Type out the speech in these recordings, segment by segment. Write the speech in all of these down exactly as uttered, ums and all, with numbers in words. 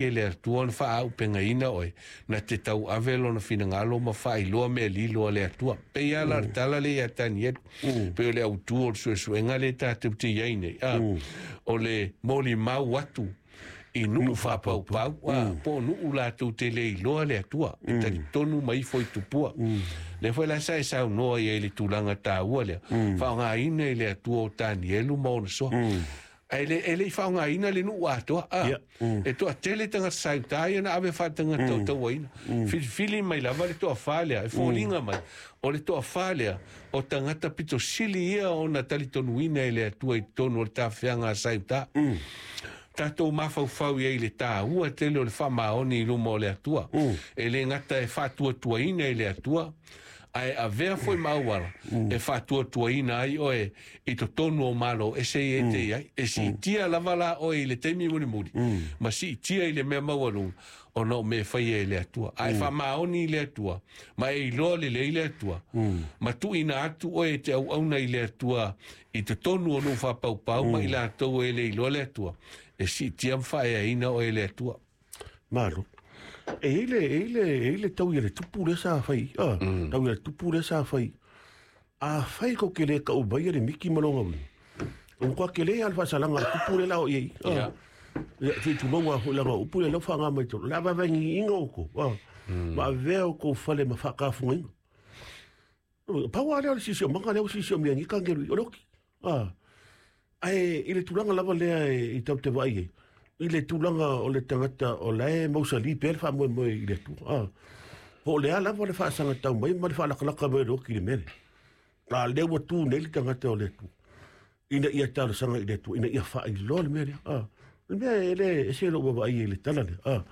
E le Atua ona faaupegaina oe, na te tauave lona finagalo ma faailoa mea lilo a le Atua. Pei lava la le tala lea ia Tanielu, pei o le autu o le suesuega lea tatou te i ai nei, a, o le molimau atu i nuu faapaupau, a, po o nuu latou te le iloa le Atua, e talitonu mai ifo i tupua. Lea foi la sa e saunoa i ai i le tulaga taua lea, faaaogaina i le Atua o Tanielu ma ona soa. Ae le, e le i faaaogaina le nuu atoa, a, Ia. Mm. e toatele tagata sa i uta ia na ave faatagata o tauaina. Filifili mai lava le toafa lea, e foliga mai, o le toafa lea, o tagata pito sili ia ona talitonuina e le Atua i totonu o le tafeaga a sa i uta. Tatou mafaufau i ai i le taua tele o le faamaoni i luma o le Atua. E le gata e faatuatuaina i le Atua, ae avea foi ma auala e faatuatuaina ai oe i totonu o malo ese i e te i ai. E siitia lava la oe i le taimi mulimuli, ma siitia i le mea maualuga, ona o mea e faia e le Atua. Ae faamaoni i le Atua, ma e iloa lelei le Atua, ma tuuina atu oe e te auauna i le Atua i totonu o nuu faapaupau ma i latou e le iloa le Atua, e siitia ma faaeaina oe e le Atua. Malo. E i ai le, e i ai le, e i ai le tau ia le tupu lea sa fai. Ah, tau ia le tupu lea sa fai. A fai ko ke le kau mai le miki ma longa wi. O kwa ke le al faasalaga le tupu le lao i ai. Ah. Ia. Ia, te tulonga foi langa upu le lau whaanga mai tolu. La vavangi inga o ko. Ah. Ma avea o ko fale ma whaakafunga inga. Paua lea o le sisi o manga lea o sisi o mea ngi kangelu i o loki. Ah. Ae i le tulaga lava lea e, i tau te vaai ai. I le tulaga o le tagata o la e mausali pea le faamoemoe i le Atua. Ah. Po o le a lava le faasagatau mai ma le faalakalaka mai o le oki i le mea lea. A lea ua tu nei le tagata o le Atua, ina ia talosaga i le Atua, ina ia faailoa le mea lea. Ah. Le mea e le ese lou vaavaai ai i le tala lea. Ah.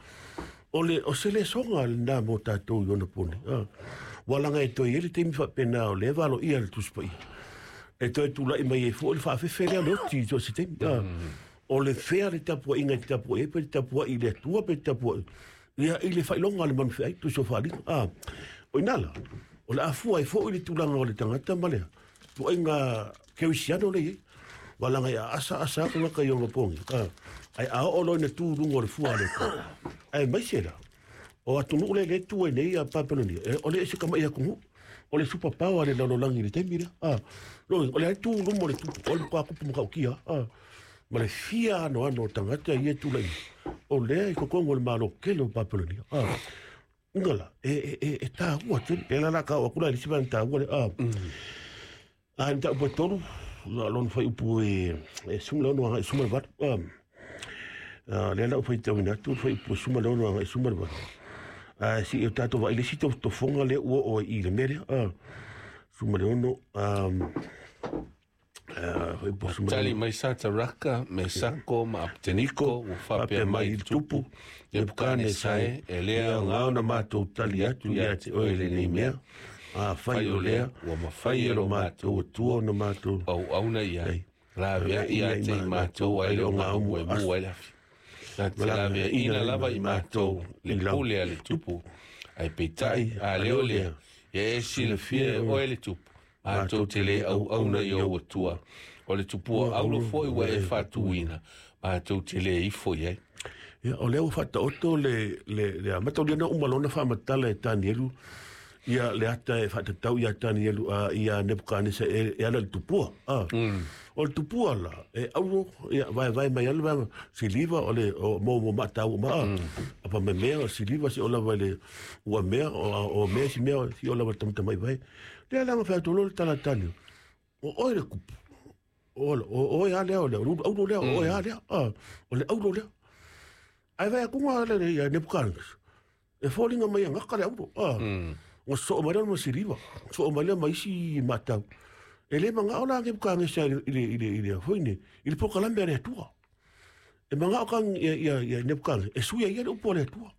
O le o se lesoga lena mo tatou i ona pone. Ah. Ua laga e toe i ai le taimi faapena o lea e valoia le Tusi Paia. E toe tulai mai ai foi le faafefe lea o le oti i so o se taimi. Ah. O le fea le tapuaiga e te tapuai ai, pe te tapuai i le Atua, pe te tapuai ia i le faailoga a le manufeai, tusi o faaaliga. Ah. O ina la, o le afua ai foi le tulaga o le tagata ma le tuaiga kerisiano le i ai. Ua laga e aasa asa atu tagata i ona pogi. Ah. Ae a oo loa ina tu i luga o le fua a le Atua. Ae maise la, o atunuu le le tu ai nei a Papelonia, e, o le ese kama'i atunuu, o le superpower a le lalolagi i le taimi lea. Ah. Lo, o le ai tu i luma o le tupu, o le matua kupu matautia. Ah. Ma le fia anoano o tagata ia e tulai mai. O lea i totonu o le malo tele o Papelonia. Ah. Inga la, e, e, e, e taua tele. E la la ka o atu la i le isi vaega taua lea. Ah. A ni tau tolu, la lona fuaiupu e, e sefulu ma le ono agai sefulu ma le valu. Ah. Ah, lea la ua faitauina atu le fuaiupu e sefulu ma le ono agai sefulu ma le valu. Ah, si o tatou vaai i le isi tofoga lea ua oo ai i le mea lea. Ah. Sefulu ma le ono, ah, ah, fuaiupu sefulu ma le Tali ono. mai Sataraka, Mesako ma Apeteniko, ua faapea Faapea mai mai i i le le tupu, tupu, Nebukanesa e, e le e aoga aoga ona ona matou matou tali tali atu atu ia ia te te oe oe lenei lenei mea. mea. A Fai fai o o lea, lea, ua mafai fai e e lo lo matou matou Atua ona matou auauna i ai. ai. Laveai ia te i matou ai le ogaumu e mu ai le afi. Na te Ma laveaina laveaina lava i matou le i lau pule a le tupu. Ae peitai, Tai, a a lea o lea o lea, lea, ia e silafia e oe le tupu, matou te le auauna i ou Atua. O le tupua aulo foi ua e faatuina, matou te le ifo i ai. Ia, o lea ua faataoto le, le, le amata o lea na uma lona faamatala e Tanielu, ia le ata e faatatau ia Tanielu, a, ia Nebukanesa e, e ala i le tupua. Ah. O le tupua la, e auro, ia, vaevae mai ala vaega, siliva o le, o mo mo maatau ma, ah. Apa me mea, o siliva si o lava i le ua mea, o, o mea si mea, si o lava i le tamatamai vai. Lea la nga whai le tala Tanielu. O oe le kupu. O, o, oe a lea, o le auro lea, o oe a lea, ah. O le auro lea. Ai vai akunga le le ia Nebukanesa. E foliga mai e gaka le auro. Ah. Ga soo mai lea ma siliva. Soo mai lea ma isi matau. E le magao la Nebukanesa i le i le i le i le foi nei, i le polokalame a le Atua. E magao ka ia ia ia Nebukanesa e sui ai ia le upu a le Atua.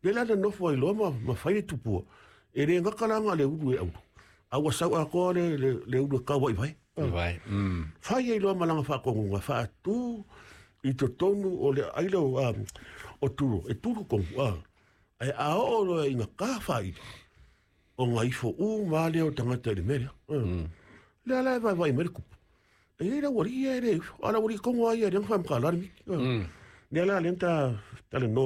Le la na nofo ai loa ma ma fai le tupua. E le gaka la nga le ulu e auro. A ua sau atoa le le le ulu e kaua i vai. Ah. Vai. Mm. Fai ai loa malaga faakogoga faatū i totonu o le aila o, ah, o Turo, e tulu kogu, ah. Ae a oo loa ina ka faaili, o ga ifo uma lava lea o tagata i le mea lea. Ah. Lea la e vaevae mai le kupu. E iai le aualii ia e le ifo, a o le aualii kogo lava ia e leaga faamakalā le miki. Ah. Lea la lea na ta talanoa.